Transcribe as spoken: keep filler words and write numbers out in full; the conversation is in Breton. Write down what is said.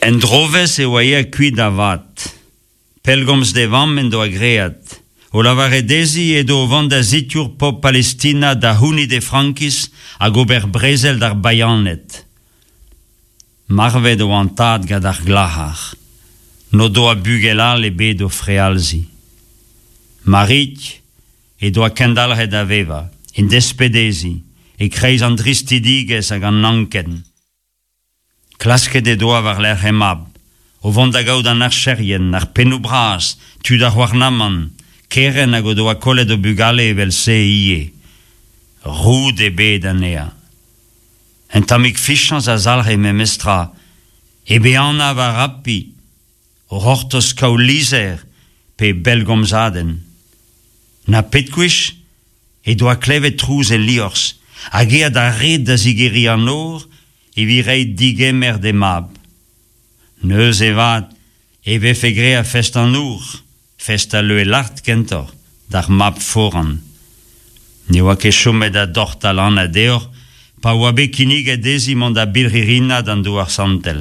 En drovezh e oa aet kuit da vat. Pellgomz d'e vamm en doa graet. O lavaret dezhi edo o vont da sikour pobl Palestina da c'hounit he frankiz hag ober brezel d'ar bayaned. Marvet oa an tad gant ar glac'har. N'o doa bugel all ebet d'o frealziñ. Mariig he doa kendalc'het da vevañ, en desped dezhi, e-kreiz an dristidigezh hag an anken. Klasket he doa war-lerc'h he mab, o vont da gaout an archerien, ar pennoù bras, tud ar c'houarnamant, kerent hag o doa kollet o bugale evel-se ivez. Roud ebet anezhañ. Un tammig fiziañs a zalc'he memestra, hep ehanañ war api, o c'hortoz kaout lizher pe bellgomzadenn. Na pet gwech he doa klevet trouz el liorzh, hag aet d'ar red da zigeriñ an nor evit reiñ digemer d'he mab. Neuze 'vat e vefe graet fest an nor, fest al leue lart kentoc'h, d'ar mab foran. Ne oa ket chomet da dortal anat deoc'h pa oa bet kinniget dezhi mont da birc'hirinañ d'an Douar Santel.